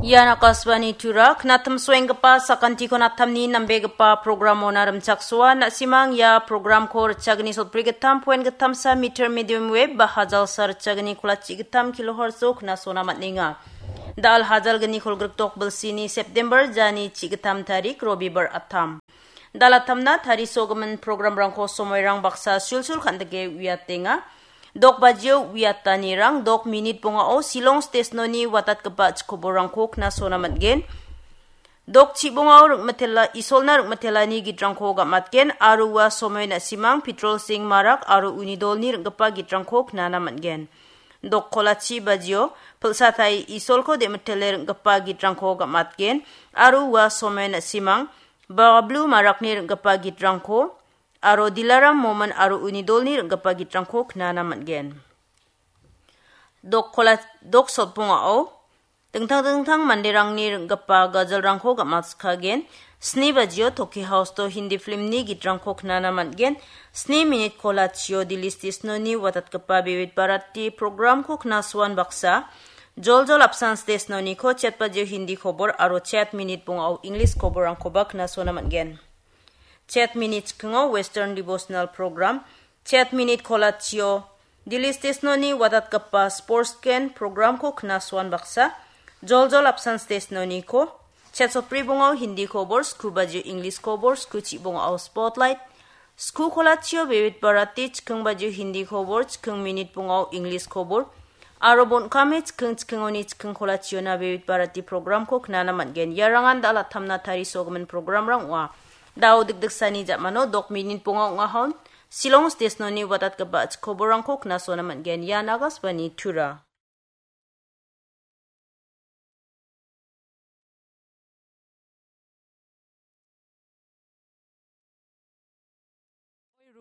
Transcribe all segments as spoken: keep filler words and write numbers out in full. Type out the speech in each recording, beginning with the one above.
Ian Akashvani Tura, knatim soenggipa sakantiko natamni nambegipa programona rimchaksoa, na·simang ia programko ritchagni sotbri gittam poen gittamsa meter medium wave ba hajalsa ritchagni kolachi gittam kilohertz-o knasona man·enga. Da·al hajalgni kolgrikdok bilsini September jani chi gittam tarik Robibar attam. Da·al attamna tarisogimin programrangko somoirang baksa sulsul kan·dike uiatenga. Dok bajio uiatanirang dok minit bongao Shillong stesnoni watatgipa chikoborangko knasona man·gen. Dok chibongao ringmitela, Isolna ringmitelani gitrangko gam·atgen aro ua somoi na·simang Pitrol Singh Marak aro uni dolni ring·gipa gitrangko knana man·gen. Dok kolachi bajio pilsatai Isolko de·mitele ring·gipa gitrangko gam·atgen aro ua somoi na·simang Bablu Marakni ring·gipa gitrangko aro Dilaram Momin aro uni dolni ring·gipa gitrangko knana man·gen. Dok kola-, dok sotbongao dingtang dingtang manderangni ring·gipa gajalrangko gam·atskagen. Sni bajio Toki House-o Hindi filmni gitrangko knana man·gen. Sni minit kolachio Delhi stesnoni watatgipa Vividh Bharati programko knasoan baksa, joljol apsan stesnoniko chet bajio Hindi kobor aro chet minit bongao English koborrangkoba knasona man·gen. Chet minit chikingo Western Devotional Program, chet minit kolachio Delhi stesnoni watatgipa Sports Gen programko knasoan baksa, joljol apsan stesnoniko, chet sotbri bongao Hindi kobor, sku bajio English kobor, sku chibongao Spotlight, sku kolachio Vividh Bharati, chiking bajio Hindi kobor, chiking minit bongao English kobor, aro bon·kame chiking chikingoni chiking kolachiona Vividh Bharati programko knana man·gen. Iarangan da·al attamna tarisogimin programrang ong·a. Da·o dikdiksani ja·mano dok minit bonga ong·ahon, Shillong stesnoni watatgipa chikoborrangko knasona man·gen. Ian Akashvani Tura.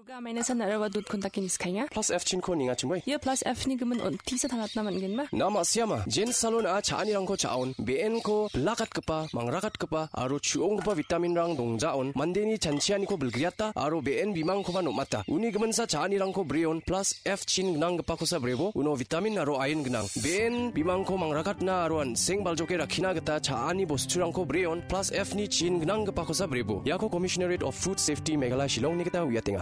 Ruga amaina san araba dut kontak ini skainga. Plus F chin ko ninga chimoi. Ia plus F ni gimin on tisa tangatna man·genba? Nama siama, Jen Salon a cha·anirangko cha·on, B N ko bilakatgipa, mangrakatgipa, aro chu·onggipa vitamin rang dongjaon, mandeni chanchianiko bilgriata, aro B N bimangkoba nom·ata. Uni giminsa cha·anirangko breon, plus F chin gnanggipakosa brebo, uno vitamin aro iron gnang. B N bimangko mangrakatna aro an·seng baljoke rakkina gita cha·ani bosturangko breon, plus F ni chin gnanggipakosa brebo. Iako Commissionerate of Food Safety Meghalaya Shillongni gita uiatenga.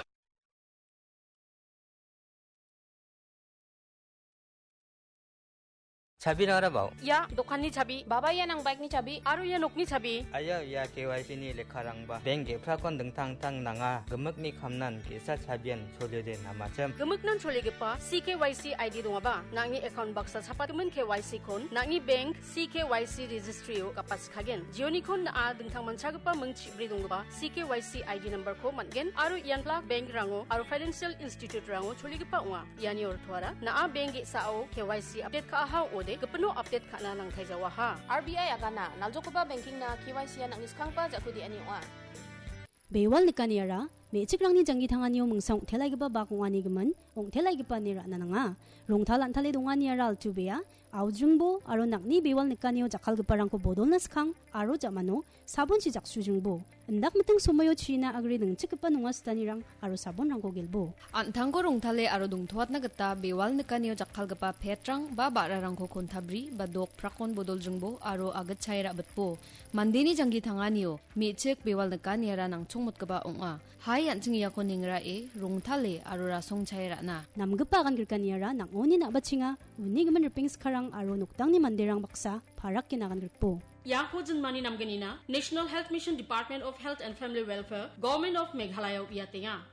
Chabi nangrabao. Ia dokanni chabi, baba ia nang bike-ni chabi, aro ia nokni chabi. Aia, ia K Y C ni lekkarangba. Bank ge·prakon dingtang dingtang nanga. Gimikni kamnan ge·sa chabian choliode namachim. Gimiknan choligipa C K Y C I D dongaba, nang·ni account baksa chapatgimin K Y C kon, nang·ni bank C K Y C registry-o gapatskagen. Jionikon na·a dingtang manchagipa ming chibri donggipa C K Y C I D number-ko man·gen aro ian plak bank-rango aro financial institute-rango choligipa ong·a. Iani ortoara, na·a bank ge·sao K Y C update ka·aha ong·ode, gipino update ka·na nangtai jawaha. R B I agana, naljokgipa banking-na K Y C-a nang·ni skanggipa ja·ku de·ani ong·a. Bewal nikaniara, me·chikrangni janggi tanganio mingsa ong·telaigipa bak ong·ani gimin, ong·telaigipa ine ra·na nanga. Rongtal an·tale donganiara altu bea, aujringbo aro nang·ni bewal nikanio jakkalgiparangko bodolna skang aro ja·mano sabonchi jaksujringbo. Indak miting somoio china agre ningchikgipa nonga sitanirang aro sabonrangko gelbo. An·tangko rongtale aro dongtoatna gita bewal nikanio jakkalgipa petrang ba ba·rarangko kontabri ba dok prakon bodoljringbo aro agitchae ra·bitbo. Mandeni janggi tanganio me·chik bewal nikaniara nangchongmotgipa ong·a. Hai an·ching iako nengrae, rongtale aro rasongchae ra·na. Namgipa agan grikaniara nang·oni na·bachenga, uni gimin ripeng skarang aro noktangni manderang baksa parakgina agan grikbo. Iako jinmani namgnina National Health Mission, Department of Health and Family Welfare, Government of Meghalaya-o uiatenga.